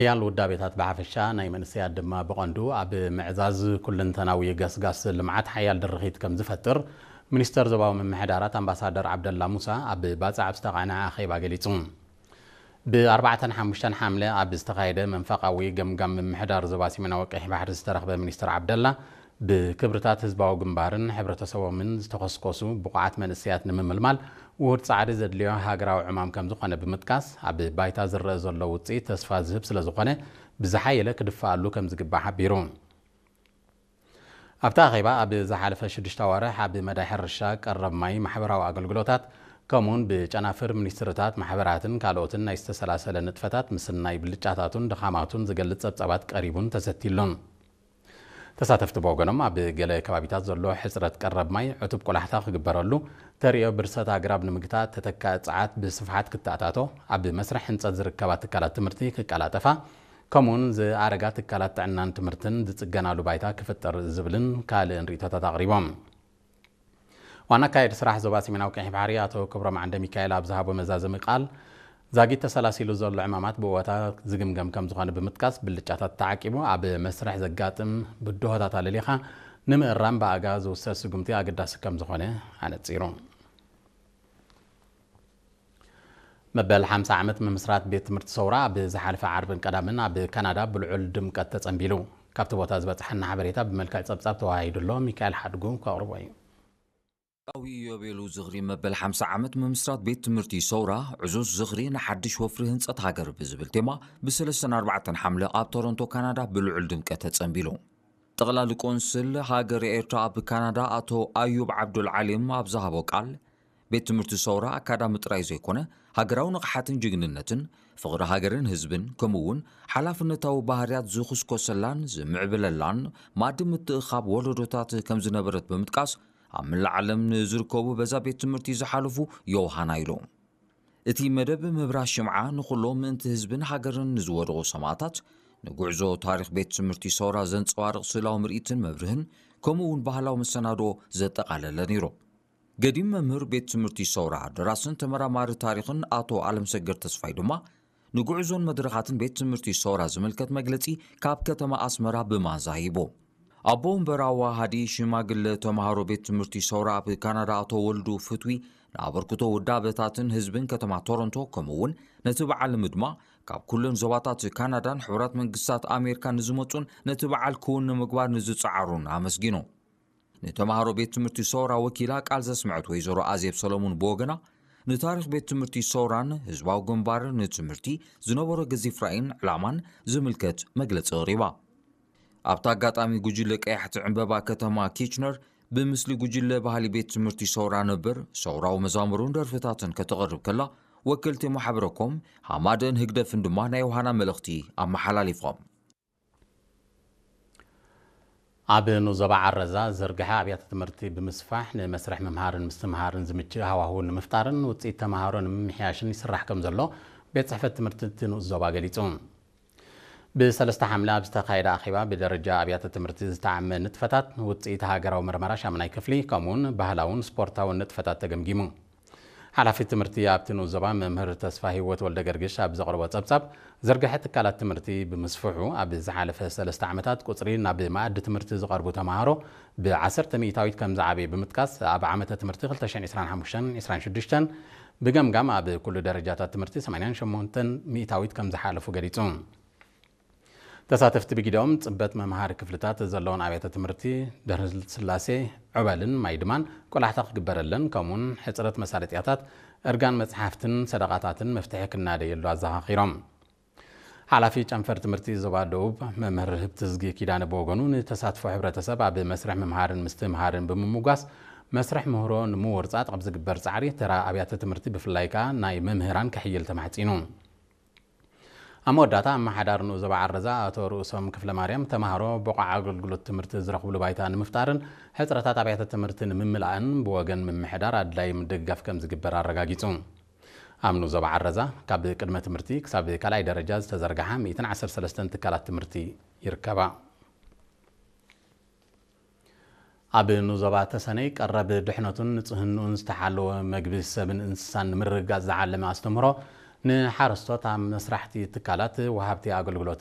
ሓያል ውዳቤታት ብሓፈሻ፣ ናይ መንእሰያት ድማ ብቐንዱ፣ ኣብ ምዕዛዝ ኩለንተናዊ ገስጋስ ልምዓት ሓያል ድርኺት ከም ዝፈጥር፣ ሚኒስተር ዞባዊ ምምሕዳራት ኣምባሳደር ዓብደላ ሙሳ ኣብ ባጽዕ ኣብ ዝተቓንዐ ኣኼባ ገሊጹ። ብ4ን ሓሙሽተን ሓምለ ኣብ ዝተኻየደ መንፈቓዊ ገምጋም ምምሕዳር ዞባ ሰሜናዊ ቀይሕ ባሕሪ ዝተረኽበ ሚኒስተር ዓብደላ፣ ብክብርታት ህዝባዊ ግንባርን ሕብረተሰቦምን ዝተኸስከሱ ብቑዓት መንእሰያት ንምምልማል ውሁድ ጻዕሪ ዘድልዮ ሃገራዊ ዕማም ከም ዝኾነ ብምጥቃስ፣ ኣብ ባይታ ዝረአ ዘሎ ውጽኢት ተስፋ ዝህብ ስለ ዝኾነ፣ ብዝሓየለ ክድፈኣሉ ከም ዝግባእ ሓቢሩ። ኣብቲ ኣኼባ፣ ኣብ ዝሓለፈ ሽዱሽተ ኣዋርሕ ኣብ መዳይ ሕርሻ፣ ቀረብ ማይ፣ ማሕበራዊ ኣገልግሎታት፣ ከምኡውን ብጨናፍር ሚኒስትርታት፣ ማሕበራትን ካልኦትን ናይ ዝተሰላሰለ ንጥፈታት ምስናይ ብልጫታቱን ድኻማቱን ዝገልጽ ጸብጻባት ቀሪቡን ተሰቲሉን። ተሳተፍቲ ብወገኖም፣ ኣብ ገለ ከባቢታት ዘሎ ሕጽረት ቀረብ ማይ ዕቱብ ቆላሕታ ክግበረሉ፣ ተርእዮ ብርሰት ኣግራብ ንምግታእ፣ ተተካኢ ጸዓት ብስፍሓት ክተኣታቶ፣ ኣብ መስርሕ ህንጸት ዝርከባ ትካላት ትምህርቲ ክቀላጠፋ፣ ከምኡውን ዝኣረጋ ትካላት ጥዕናን ትምህርትን ዝጽገናሉ ባይታ ክፍጠር ዝብልን ካልእን ርእይቶታት ኣቕሪቦም። ዋና ኣካየዲ ስራሕ ዞባ ሰሜናዊ ቀይሕ ባሕሪ ኣቶ ክብሮም ዓንደ ሚካኤል ኣብ ዝሃቦ መዛዘሚ ቃል፣ ዛጊት ተሰላሲሉ ዘሎ ዕማማት ብእወታ ዝግምገም ከም ዝኾነ ብምጥቃስ፣ ብልጫታት ተዓቂቡ ኣብ መስርሕ ዘጋጥም ብድሆታት ኣለሊኻ ንምእራም ብኣጋ ዝውሰድ ስጉምቲ ኣገዳሲ ከም ዝኾነ ኣነጺሩ። መበል ሓምሳ ዓመት ምምስራት ቤት ትምህርቲ ሰውራ ኣብ ዝሓለፈ ዓርብን ቀዳምን ኣብ ካናዳ ብልዑል ድምቀት ተጸንቢሉ። ካብቲ ቦታ ዝበጽሓና ሓበሬታ ብመልክዕ ጸብጻብ ተወሃሂዱ ኣሎ። ሚካኤል ሓድጉ ከቕርቦ እዩ። ዊ ኢዮቤሉ ዝኽሪ መበል ሓምሳ ዓመት ምምስራት ቤት ትምህርቲ ሰውራ ዕዙዝ ዝኽሪ ንሓድሽ ወፍሪ ህንጸት ሃገር ብዝብል ቴማ ብ3ን ኣርባዕተን ሓምለ ኣብ ቶሮንቶ ካናዳ ብልዑል ድምቀት ተጸንቢሉ። ጠቕላሊ ቆንስል ሃገር ኤርትራ ኣብ ካናዳ ኣቶ ኣዩብ ዓብዱል ዓሊም ኣብ ዝሃቦ ቃል፣ ቤት ትምህርቲ ሰውራ ኣካዳሚ ጥራይ ዘይኮነ፣ ሃገራዊ ንቕሓትን ጅግንነትን፣ ፍቕሪ ሃገርን ህዝብን፣ ከምኡ እውን ሓላፍነታዊ ባህርያት ዝኹስኮሰላን ዝምዕብለላን ማእዲ ምትእኻብ ወለዶታት ከም ዝነበረት ብምጥቃስ፣ ኣብ መላእ ዓለም ንዝርከቡ በዛ ቤት ትምህርቲ ዝሓለፉ ዮውሃና ኢሉ። እቲ መደብ ምብራህ ሽምዓ ንኹሎም ምእንቲ ህዝብን ሃገርን ንዝወደቑ ሰማእታት፣ ንጉዕዞ ታሪኽ ቤት ትምህርቲ ሰውራ ዘንጸባርቕ ስእላዊ ምርኢትን መብርህን፣ ከምኡ እውን ባህላዊ መሰናድኦ ዘጠቓለለ ነይሩ። ገዲም መምህር ቤት ትምህርቲ ሰውራ፣ ደራስን ተመራማሪ ታሪኽን ኣቶ ኣለምሰገድ ተስፋይ ድማ፣ ንጉዕዞን መድረኻትን ቤት ትምህርቲ ሰውራ ዝምልከት መግለጺ ካብ ከተማ ኣስመራ ብማንዛ ሂቡ። ኣቦ ወንበር ኣዋሃዲ ሽማግለ ተምሃሮ ቤት ትምህርቲ ሰውራ ኣብ ካናዳ ኣቶ ወልዱ ፍትዊ፣ ንኣበርክቶ ውዳበታትን ህዝብን ከተማ ቶሮንቶ፣ ከምኡ እውን ነቲ በዓል ንምድማቕ ካብ ኩለን ዞባታት ካናዳን ሕቡራት መንግስታት ኣሜሪካን ንዝመጹን ነቲ በዓል ክውን ንምግባር ንዝጸዓሩን ኣመስጊኑ። ንተምሃሮ ቤት ትምህርቲ ሰውራ ወኪላ ቃል ዘስምዐት ወይዘሮ ኣዜብ ሰለሙን ብወገና፣ ንታሪኽ ቤት ትምህርቲ ሰውራን ህዝባዊ ግንባርን ንትምህርቲ ዝነበሮ ገዚፍ ራእይን ዕላማን ዝምልከት መግለጺ ኣቕሪባ። ኣብቲ ኣጋጣሚ፣ ጉጅለ ቀያሕቲ ዕምበባ ከተማ ኪችነር ብምስሊ ጉጅለ ባህሊ ቤት ትምህርቲ ሰውራ ነበር፣ ሰውራዊ መዛሙሩን ደርፍታትን ከተቕርብ ከላ፣ ወከልቲ ማሕበረኮም ሃማደን ህግደፍን ድማ ናይ ዮሃና መልእኽቲ ኣመሓላሊፎም። ኣብ ንዞባ ዓረዛ ዝርግሐ ኣብያተ ትምህርቲ ብምስፋሕ፣ ንመስርሕ ምምሃርን ምስትምሃርን ዝምችእ ሃዋህው ንምፍጣርን ውፅኢት ተምሃሮ ንምምሕያሽን ይስራሕ ከም ዘሎ ቤት ፅሕፈት ትምህርቲ እቲ ንኡስ ዞባ ገሊፁ። ብሰለስተ ሓምለ ኣብ ዝተኻየደ ኣኼባ፣ ብደረጃ ኣብያተ ትምህርቲ ዝተዓመ ንጥፈታት፣ ውፅኢት ሃገራዊ መርመራ ሻምናይ ክፍሊ፣ ከምኡውን ባህላውን ስፖርታውን ንጥፈታት ተገምጊሙ። ሓላፊ ትምህርቲ ኣብቲ ንኡስ ዞባ መምህር ተስፋ ህይወት ወልደ ገርግሽ ኣብ ዘቕረቦ ጸብጻብ፣ ዝርግሐ ትካላት ትምህርቲ ብምስፍሑ፣ ኣብ ዝሓለፈ ሰለስተ ዓመታት ቁጽሪ ናብ መኣዲ ትምህርቲ ዝቐርቡ ተምሃሮ ብ10 ሚእታዊት ከም ዝዓበየ ብምጥቃስ፣ ኣብ ዓመተ ትምህርቲ ክልተ ሽሕን ዕስራን ሓሙሽተን ዕስራን ሽዱሽተን ብገምጋም ኣብ ኩሉ ደረጃታት ትምህርቲ ሰማንያን ሸሞንተን ሚእታዊት ከም ዝሓለፉ ገሊጹ። ተሳተፍቲ ብጊደኦም ጽበት መምሃሪ ክፍልታት ዘለዎን ኣብያተ ትምህርቲ ደርህስላሴ፣ ዑበልን ማይድማን ቆላሕታ ክግበረለን፣ ከምኡውን ሕጽረት መሳለጥያታት እርጋን መጽሓፍትን ሰደቓታትን መፍትሒ ክናደየሉ ኣዘኻኺሮም። ሓላፊ ጨንፈር ትምህርቲ ዞባ ደቡብ መምህር ህብትዝጊ ኪዳነ ብወገኑ፣ ንተሳትፎ ሕብረተሰብ ኣብ መስርሕ ምምሃርን ምስትምሃርን ብምምጓስ፣ መስርሕ ምህሮ ንምውርጻጥ ኣብ ዝግበር ጻዕሪ ተራ ኣብያተ ትምህርቲ ብፍላይ ከኣ ናይ መምህራን ክሕይል ተማሕጺኑ። ኣብ መወዳእታ፣ ኣመሓዳሪ ንኡስ ዞባ ዓረዛ ኣቶ ርእሶም ክፍለማርያም፣ ተምሃሮ ብቑዕ ኣገልግሎት ትምህርቲ ዝረኽብሉ ባይታ ንምፍጣርን ሕጽረታት ኣብያተ ትምህርቲ ንምምላእን ብወገን ምምሕዳር ኣድላዪ ምድግጋፍ ከም ዝግበር ኣረጋጊጹ። ኣብ ንኡስ ዞባ ዓረዛ ካብ ቅድመ ትምህርቲ ክሳብ ካልኣይ ደረጃ ዝተዘርግሓ ሚእትን ዓሰርተ ሰለስተን ትካላት ትምህርቲ ይርከባ። ኣብ ንኡስ ዞባ ተሰነይ ቀረብ ድሕነቱን ንጽህንኡን ዝተሓለወ መግቢ ሰብን እንስሳን ንምርግጋጽ ዝዓለመ ኣስተምህሮ ንሓረስቶት ኣብ መስራሕቲ ትካላት ወሃብቲ ኣገልግሎት